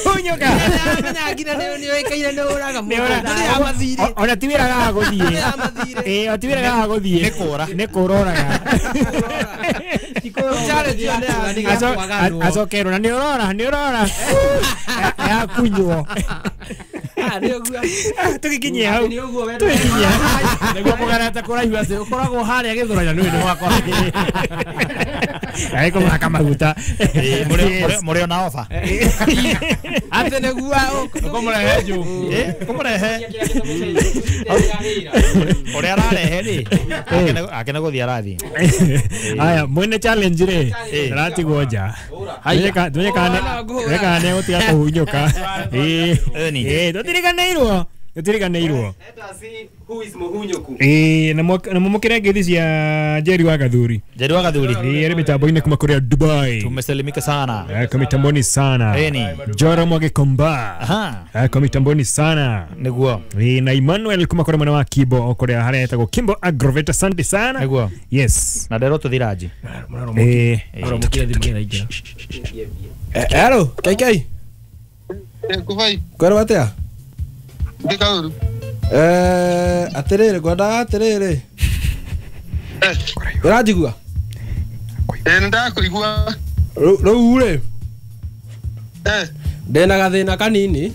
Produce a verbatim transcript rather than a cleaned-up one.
Hunyuka. Ona ti wĩra gaga gũthiĩ. Ĩĩ o ti wĩra gaga gũthiĩ. Nĩ kũra. Nĩ kũra ũraga. Acokerwo na nĩ ũrora nĩ ũrora. Yakunywo. Tũgĩkinyie hau. Tũgĩkinyie. Nĩguo mũgarete kũraihu atĩ ũkoragwo harĩa gĩthũraina nĩ nĩ wakora. Arĩ kũmũhaka maguta. Mũrĩ ona ofa. Atĩ nĩguo ũkũmũrehe juu. Kũmũrehe. Ũrĩa ararehe rĩ ake nĩ gũthiĩ arathiĩ. Aya mwene challenge rĩ aratigwo nja. Tumenye kana nĩ egũtiga kũhunyũka. Ĩĩ tũtiriganĩirwo. Tũtiriganĩirwo. Ĩĩ na mũmũkĩre ngeithi cia Jerry wa Gathuri. Jerry wa Gathuri. Ĩĩ arĩ mitambo-inĩ kuma kũrĩa Dubai. Tumesalimika sana. Kwa mitamboni sana. Joro Mwagikomba. Kwa mitamboni sana. Nĩguo. Ĩĩ na Emmanuel kuma kũrĩa mwena wa Kibo o kũrĩa harĩa etagwo Kimbo Agroveta, asante sana. Nĩguo. Yes. Na ndero tũthiraji. Ĩĩ. Hello, K K. Kuvai. Kwero atia? Ndikauru. Eh, atiriri ngwendaga atiriri. Eh. Ũranjigua? Eh, nĩndakũigua. Rĩu rĩ. Eh. Ndĩna gathĩna kanini.